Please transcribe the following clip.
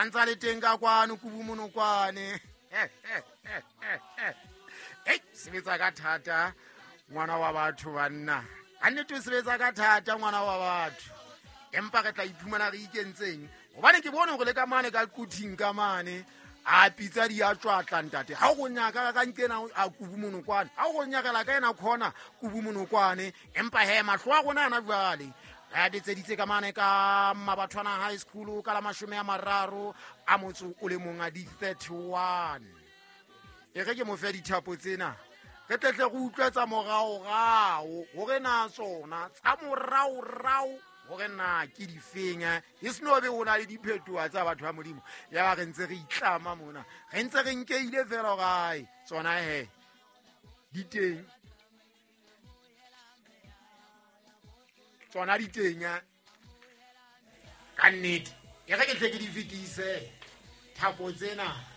Santsa le teng ka kwano Kubu Monokwane. Ei, sebetsa ka thata ngwana wa batho banna. Ka nnete o sebetsa ka thata ngwana wa batho. Empa re tla iphumana re ikentseng gobane ke bone gore le ka mane ka quthing ka mane a pitsa di a tswatla ntate. Ha o go nyaka ka nkena a Kubu Monokwane, ha o go nyakela ka ena khona Kubu Monokwane. Empa he mahlo a rona ana jwale re a betseditse ka mane ka Mabathwana High School ka la 31 a di-31. E re ke mo fe dithapo tsena re tletle re utlwe tsa moraorao gore na tsona tsa moraorao gore na ke difeng. E seno be o na le diphetoa tsa batho ba Modimo, ya ba re ntse re itlama mona, re ntse re nkeile fela gore ae tsona he di teng, tsona di teng ka nnete. E re ke tle ke di fetise thapo tsena.